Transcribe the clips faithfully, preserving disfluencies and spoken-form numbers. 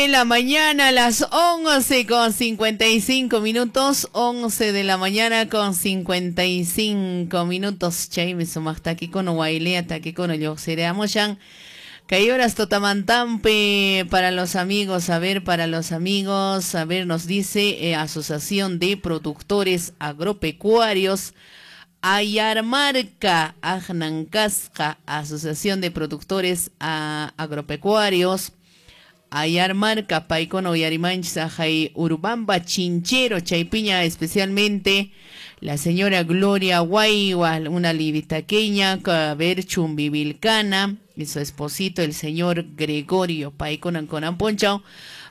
De la mañana, las once con cincuenta y cinco minutos, once de la mañana con cincuenta y cinco minutos. Chaymi sumaq takikuna waylea takikuna lluqsiriamushan. Kay horas totamantampi para los amigos, a ver, para los amigos, a ver, nos dice eh, Asociación de Productores Agropecuarios Ayarmarca, Ajnancasca, Asociación de Productores a, Agropecuarios Ayarmarca, paykuna uyarimanchis ajay Urubamba Chinchero, chaypiña especialmente la señora Gloria Guaywa, una libitaqueña, a ver, Chumbivilcana, y su esposito, el señor Gregorio, paykuna konampunchaw,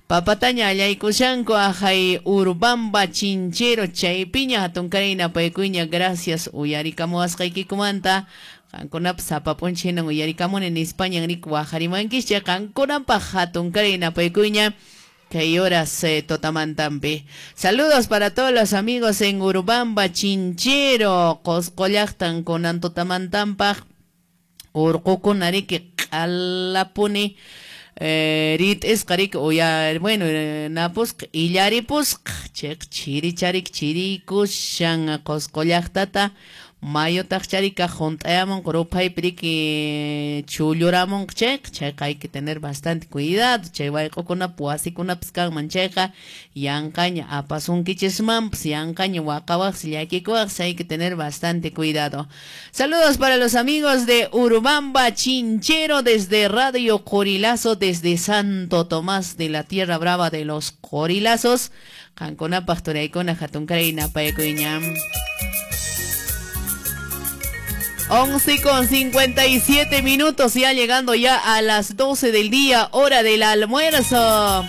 papataña allaykushanku ajay Urubamba Chinchero, chaypiña hatunkarayna paykuña, gracias uyarikamuwasqaykikumanta. Qankunapa sapapunchi hinan uyarikamuni nispañan rik waqarimankischa qankunapaq hatunkaray napaykuña kay horas eh, totamantampi. Saludos para todos los amigos en Urubamba Chinchero, Qosqo llaqtan kunan totamantampaq urqukuna riki q'alapuni eh, rit'isqa riki uya bueno eh, napusqa illaripusqa chayqa chiricharik chirikushan Qosqo llaqtata mayutaq charika junt'ayamunqa ruphaypi riki chulluramunqa chayqa chayqa hay que tener bastante cuidado chay wayq'ukunapas wasikunapas kanman chayqa yanqaña apasunkichismanpas yanqaña waqawaqsi llakikuwaqsi hay que tener bastante cuidado. Saludos para los amigos de Urubamba Chinchero desde Radio Corilazo desde Santo Tomás de la Tierra Brava de los Corilazos. Qankunapaq turaykuna hatunkaray napaykuña. once con cincuenta y siete minutos, ya llegando ya a las doce del día, hora del almuerzo.